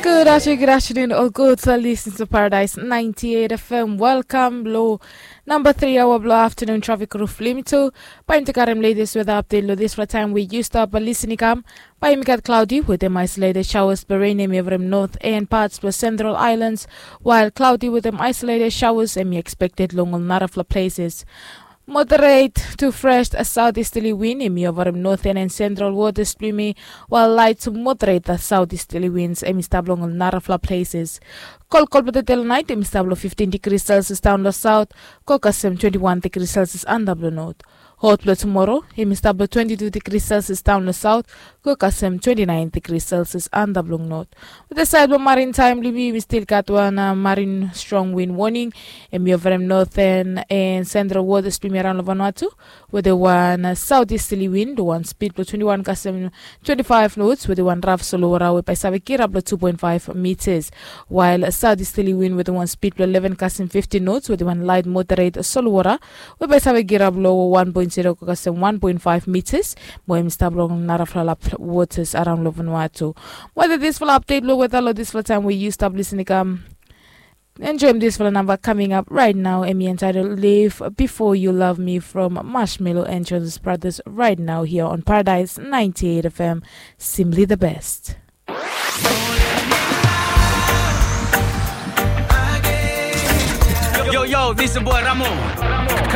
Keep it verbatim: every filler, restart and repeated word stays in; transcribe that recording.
Good afternoon, good afternoon, all good listeners of Paradise ninety-eight F M. Welcome lo number three hour blo afternoon traffic roof limit. Bae yumi karem latest weather update lo this for time we used up a listening come. Bae yumi gat cloudy with them isolated showers, but rain em yovrim north and parts plus central islands, while cloudy with them isolated showers em expected long narafla places. Moderate to fresh southeasterly wind em yovrim northern and central waters blo yumi, while light to moderate southeasterly winds em stap long narafla places. Kolkol blo tete lo night em stap lo fifteen degrees Celsius down lo south, go kasem twenty-one degrees Celsius under blo north. Hot blo tomorrow em stap lo twenty-two degrees Celsius down lo south, go kasem twenty-nine degrees Celsius under blo north. With the side blo marine time blo yumi, we still got one uh, marine strong wind warning. Em yovrim northern and central waters blo yumi around lo Vanuatu, with the one uh, southeasterly wind, the one speed blo twenty-one kasem twenty-five knots, with the one rough solo water we bae save kirap lo two point five meters, while a southeasterly wind with the one speed blo eleven kasem fifteen knots, with the one light moderate solo water we bae save kirap lo one point zero kasem one point five meters. Mo em stap long narafla waters around lo Vanuatu. Whether this fala update lo weather lo this fala time we you stop listening come. Enjoy this fala number coming up right now. Em entitled Live Before You Love Me from Marshmello and Jonas Brothers right now here on Paradise ninety-eight F M. Simply the best. Yo, yo, this is boy Ramo. Cut